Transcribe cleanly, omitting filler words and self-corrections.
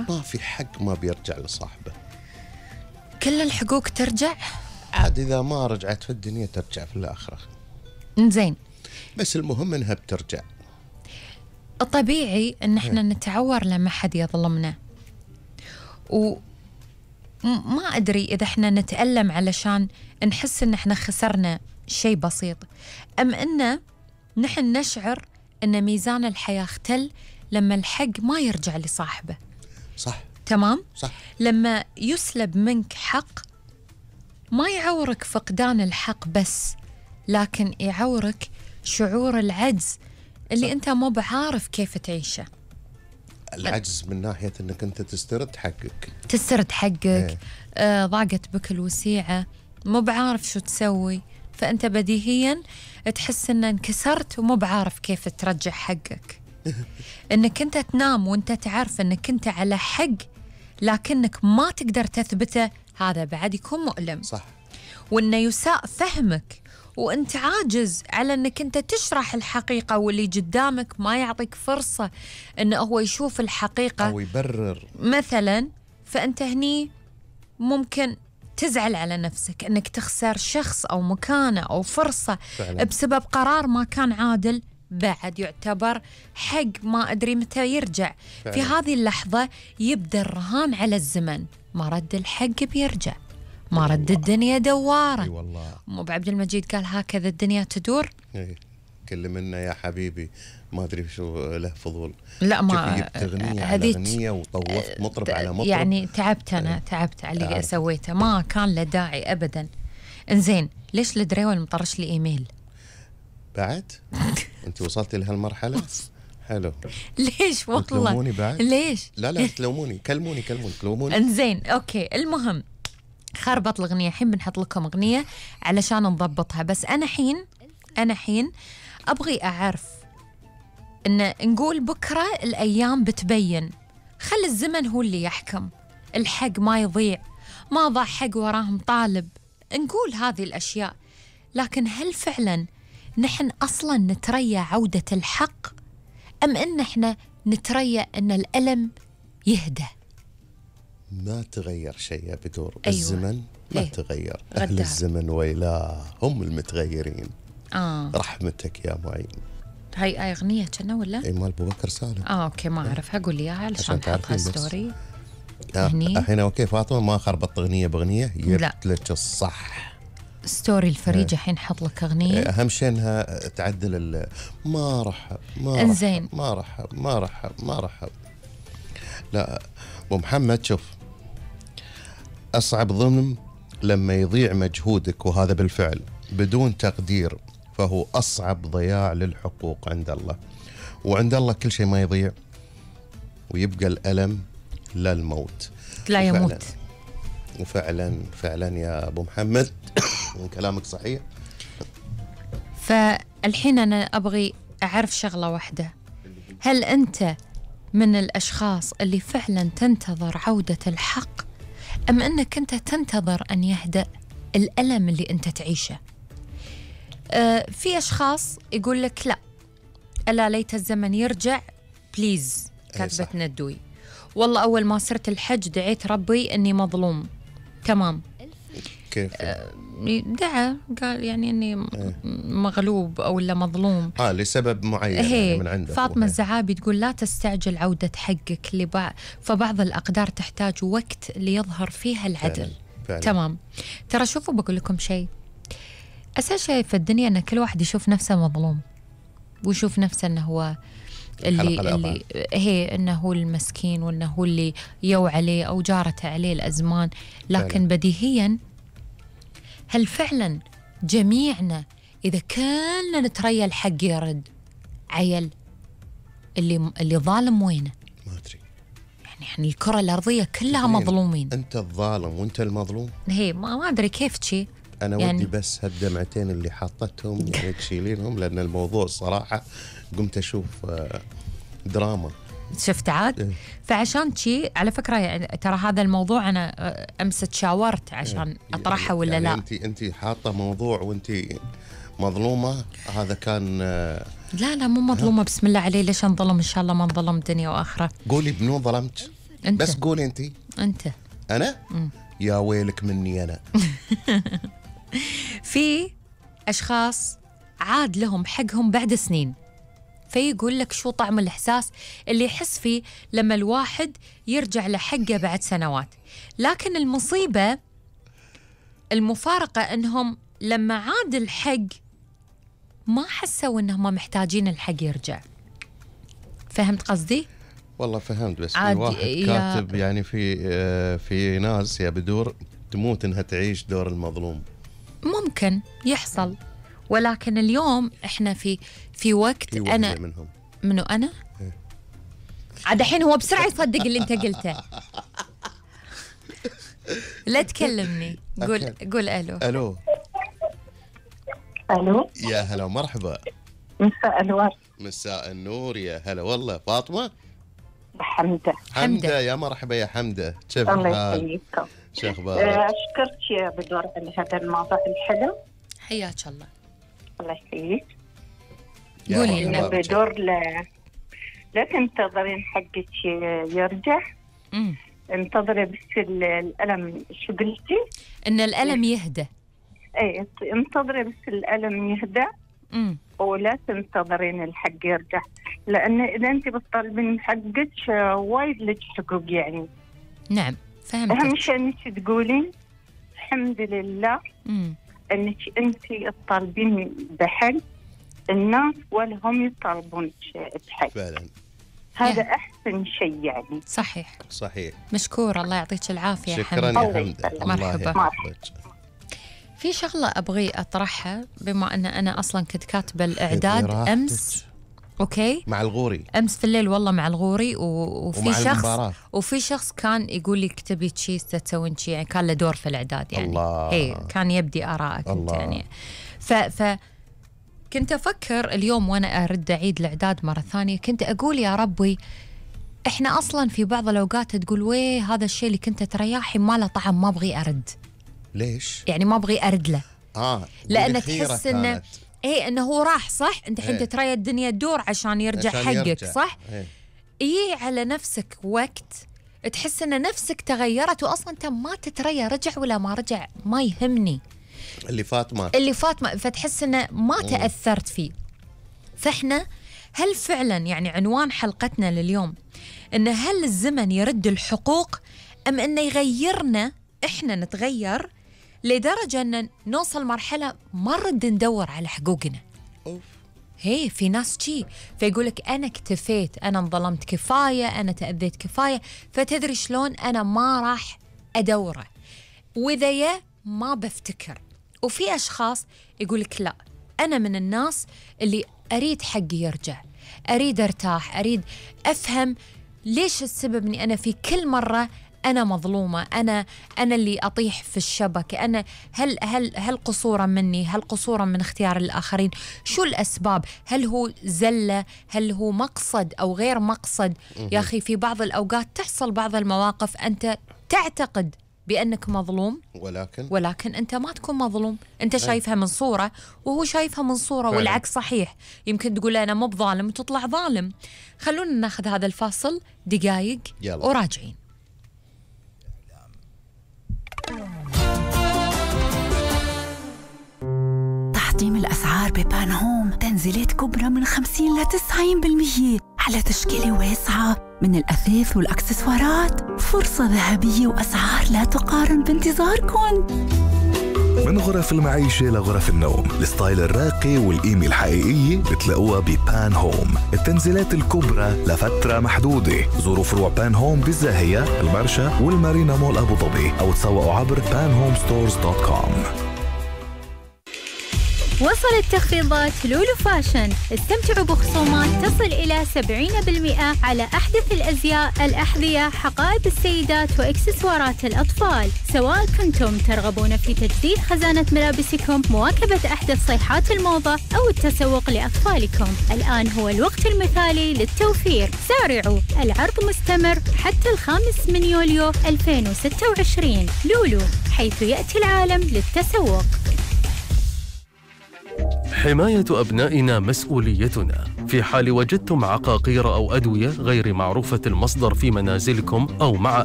ما في حق ما بيرجع لصاحبه. كل الحقوق ترجع؟ عاد إذا ما رجعت في الدنيا ترجع في الآخرة. إنزين، بس المهم إنها بترجع. الطبيعي إن إحنا نتعور لما حد يظلمنا، وما أدري إذا إحنا نتألم علشان نحس إن إحنا خسرنا شيء بسيط، أم إنه نحن نشعر إن ميزان الحياة اختل لما الحق ما يرجع لصاحبه. صح. تمام؟ صح. لما يسلب منك حق ما يعورك فقدان الحق بس، لكن يعورك شعور العجز اللي أنت مو بعارف كيف تعيشه. العجز من ناحية أنك أنت تسترد حقك. تسترد حقك. ضاقت بك الوسيعة، مو بعارف شو تسوي، فأنت بديهيا تحس أن انكسرت ومو بعارف كيف ترجع حقك. أنك أنت تنام وأنت تعرف أنك أنت على حق لكنك ما تقدر تثبته، هذا بعد يكون مؤلم. صح. وأنه يساء فهمك وأنت عاجز على أنك أنت تشرح الحقيقة، واللي قدامك ما يعطيك فرصة أنه هو يشوف الحقيقة أو يبرر مثلا، فأنت هني ممكن تزعل على نفسك أنك تخسر شخص أو مكانة أو فرصة فعلا. بسبب قرار ما كان عادل، بعد يعتبر حق ما أدري متى يرجع. فعلا. في هذه اللحظة يبدأ الرهان على الزمن، ما رد الحق بيرجع، ما رد الدنيا دوارة. اي والله. مو بعبد المجيد قال هكذا الدنيا تدور؟ كل منا يا حبيبي ما ادري شو له فضول. لا ما جبت اغنيه على اغنيه وطوفت مطرب على مطرب، يعني تعبت انا، تعبت على اللي سويته، ما كان له داعي ابدا. انزين، ليش الدريول مطرش لي ايميل بعد؟ انت وصلتي لهالمرحله؟ حلو. ليش والله؟ تلوموني بعد؟ ليش؟ لا تلوموني، كلموني تلوموني. انزين اوكي، المهم خربط الاغنيه، الحين بنحط لكم اغنيه علشان نضبطها، بس انا حين ابغي اعرف ان نقول بكره الايام بتبين، خل الزمن هو اللي يحكم، الحق ما يضيع، ما ضاع حق وراهم طالب، نقول هذه الاشياء، لكن هل فعلا نحن اصلا نتريا عوده الحق، ام ان احنا نتريا ان الالم يهدى؟ ما تغير شيء يا بدور. أيوة. الزمن ما تغير، أهل الزمن ويلاه هم المتغيرين. رحمتك يا معين. هاي أغنية كنا ولا؟ اي مال أبو بكر سالم. اوكي ما اعرف، هقول لي اياها علشان تحطها ستوري. الحين اوكي فاطمة، ما خربطت اغنية باغنية، جبت لك الصح ستوري الفريجة. الحين حط لك اغنية، اهم شيء انها تعدل ما رحب انزين، ما رحب. لا ابو محمد، شوف، اصعب ظلم لما يضيع مجهودك، وهذا بالفعل بدون تقدير، فهو اصعب ضياع للحقوق عند الله. وعند الله كل شيء ما يضيع، ويبقى الالم لا الموت لا يموت. وفعلا يا ابو محمد كلامك صحيح. فالحين انا ابغي اعرف شغلة واحدة، هل انت من الاشخاص اللي فعلا تنتظر عودة الحق، ام انك انت تنتظر ان يهدأ الالم اللي انت تعيشه؟ في اشخاص يقول لك لا، الا ليت الزمن يرجع بليز، كاتبة ندوي، والله اول ما صرت الحج دعيت ربي اني مظلوم. تمام، كيف؟ دعا قال يعني اني مغلوب او لا مظلوم لسبب معين يعني من عنده. فاطمة الزعابي تقول لا تستعجل عودة حقك فبعض الأقدار تحتاج وقت ليظهر فيها العدل. فعلا. تمام. ترى شوفوا بقول لكم شيء، أساس شيء في الدنيا أن كل واحد يشوف نفسه مظلوم، ويشوف نفسه أنه هو اللي هي أنه هو المسكين، وأنه هو اللي يو عليه أو جارت عليه الأزمان. لكن فعلا. بديهيا هل فعلا جميعنا إذا كلنا نتريا الحق يرد، عيل اللي ظالم وينه؟ ما أدري، يعني الكرة الأرضية كلها مظلومين. أنت الظالم وأنت المظلوم. هي ما أدري كيف شي. أنا يعني ودي بس هالدمعتين اللي حاطتهم يعني تشيلينهم، لأن الموضوع صراحة قمت أشوف دراما. شفت عاد؟ فعشان شي على فكرة يعني ترى هذا الموضوع أنا أمس تشاورت عشان أطرحه ولا يعني لا. أنت حاطة موضوع وأنت مظلومة، هذا كان لا مو مظلومة، بسم الله علي، ليش انظلم؟ إن شاء الله ما انظلم دنيا وآخرة. قولي بنو ظلمت. أنت. بس قولي أنت. أنا؟ يا ويلك مني أنا. في أشخاص عاد لهم حقهم بعد سنين، فيقول لك شو طعم الإحساس اللي يحس فيه لما الواحد يرجع لحقه بعد سنوات. لكن المصيبة المفارقة أنهم لما عاد الحق ما حسوا أنهم محتاجين الحق يرجع. فهمت قصدي؟ والله فهمت، بس في واحد كاتب يعني في ناس يا بدور تموت انها تعيش دور المظلوم. ممكن يحصل، ولكن اليوم احنا في وقت انا منو انا عاد الحين هو بسرعه يصدق اللي انت قلته. لا تكلمني، قول الو. يا هلا مرحبا. مساء الورد. مساء النور، يا هلا والله. فاطمه؟ حمدة يا مرحبا يا حمدة، كيف الحال؟ الله يحييكم. شو اخبارك؟ اشكرك يا بدور على هذا الموضوع الحلو. حياك الله. الله يحييك. قولي لنا بدور لا تنتظرين حقك يرجع. انتظري بس الألم. شو قلتي؟ ان الألم يهدى. اي انتظري بس الألم يهدى. ولا تنتظرين الحق يرجع، لأن إذا أنت بتطالبين حقك وايد لك حقوق يعني. نعم فهمت. أهم شيء أنك تقولين الحمد لله أنك أنت تطالبين بحق الناس ولا هم يطالبون بحق. فعلا هذا أحسن شيء يعني. صحيح. مشكورة، الله يعطيك العافية. شكرا يا حمدة. مرحبا. في شغلة أبغي أطرحها، بما أن أنا أصلا كنت كاتبة الإعداد أمس. أوكي، مع الغوري أمس في الليل والله مع الغوري وفي شخص كان يقول لي اكتبي شيء تسوين شيء، يعني كان له دور في الإعداد يعني. الله. كان يبدي آراءك أنت يعني. كنت أفكر اليوم وأنا أرد أعيد الإعداد مرة ثانية، كنت أقول يا ربي إحنا أصلا في بعض الأوقات تقول ويه هذا الشيء اللي كنت ترياحي ما له طعم، ما أبغي أرد. ليش؟ يعني ما أبغي أرد له. لأن تحس إنه إنه هو راح صح، أنت حين تتريا الدنيا تدور عشان يرجع حقك صح؟ على نفسك وقت تحس إن نفسك تغيرت، وأصلا أنت ما تتريا رجع ولا ما رجع ما يهمني. اللي فات ما فتحس إنه ما تأثرت فيه. فإحنا هل فعلا يعني عنوان حلقتنا لليوم إن هل الزمن يرد الحقوق أم إنه يغيرنا إحنا نتغير لدرجة أن نوصل مرحلة ما نرد ندور على حقوقنا؟ في ناس شي فيقولك أنا اكتفيت، أنا انظلمت كفاية، أنا تأذيت كفاية، فتدري شلون أنا ما راح أدوره، وإذا ما بفتكر. وفي أشخاص يقولك لا، أنا من الناس اللي أريد حقي يرجع، أريد أرتاح، أريد أفهم ليش السبب أني أنا في كل مرة أنا مظلومة، أنا اللي أطيح في الشبكة. أنا هل قصورا مني؟ هل قصورا من اختيار الآخرين؟ شو الأسباب؟ هل هو زلة؟ هل هو مقصد أو غير مقصد؟ يا أخي في بعض الأوقات تحصل بعض المواقف أنت تعتقد بأنك مظلوم، ولكن أنت ما تكون مظلوم. أنت شايفها من صورة وهو شايفها من صورة، والعكس صحيح. يمكن تقول أنا مو بظالم وتطلع ظالم. خلونا ناخذ هذا الفاصل دقايق وراجعين. تحطيم الأسعار ببان هوم، تنزيلات كبرى من 50 ل 90% على تشكيلة واسعة من الأثاث والأكسسوارات. فرصة ذهبية وأسعار لا تقارن بانتظاركم. من غرف المعيشة لغرف النوم، الستايل الراقي والقيمة الحقيقية بتلاقوها ببان هوم. التنزيلات الكبرى لفترة محدودة. زوروا فروع بان هوم بالزاهية، المرشا والمارينا مول أبو ظبي، أو تسوقوا عبر panhomestores.com. وصلت تخفيضات لولو فاشن. استمتعوا بخصومات تصل إلى 70% على أحدث الأزياء، الأحذية، حقائب السيدات وإكسسوارات الأطفال. سواء كنتم ترغبون في تجديد خزانة ملابسكم، مواكبة أحدث صيحات الموضة، أو التسوق لأطفالكم، الآن هو الوقت المثالي للتوفير. سارعوا، العرض مستمر حتى 5 يوليو 2026. لولو، حيث يأتي العالم للتسوق. حماية أبنائنا مسؤوليتنا. في حال وجدتم عقاقير أو أدوية غير معروفة المصدر في منازلكم أو مع